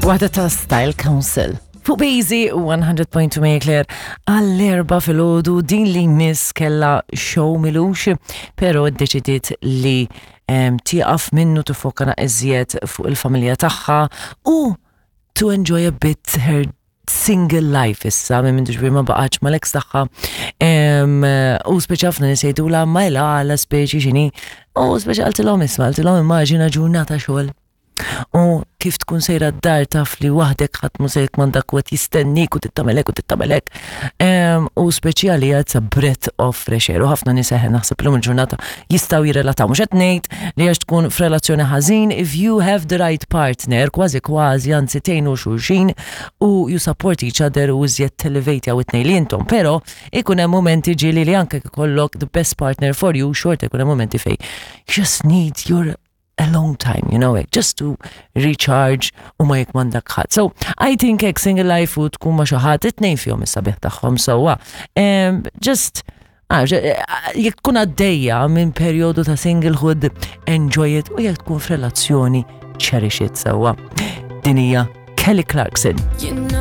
Waħda ta' Style Council. Fuq Busy 100.2 Marie Claire għall-erba filgħodu din li miss kella show milux, pero ddeċidiet li tieqaf minnu tifoka iżjed fuq il-familja tagħha u to enjoy a bit her single life issa, minn minn ġbir ma baqax ma l-ex tagħha. U speċi ħafna nies jgħidulha ma ila għala speċi xini. U speċi qaltilhom isma' qaltilhom immaġina ġurnata xogħol. U kif tkun sejra d-dar taf li waħdek ħadd mhu se jikmandak u qed jistennik u tittamelek u tittamelek. U speċjali it's a breath of fresh air. U ħafna nies eħe naħseb illum il-ġurnata jistgħu jirrelataw. Mhux qed ngħid li għax tkun f'relazzjoni ħażin, if you have the right partner, kważi kważi anzi tgħinu xulxin u you support each other u iżjed televate jew it-tnejn li intom. Però ikun hemm momenti ġieli li anke ikollok the best partner for you, xorta ikun hemm momenti fej you just need your alone time, you know, like, just to recharge u ma jikmandak ħadd. So, I think hekk single life u tkun ma xi ħadd it-tnejn fihom is-sabiħ tagħhom sewwa. Just ah, eh, jekk tkun għaddejja minn perjodu ta' singlehood, enjoy it u jekk tkun f'relazzjoni, cherish it sewwa. Din hija Kelly Clarkson. You know.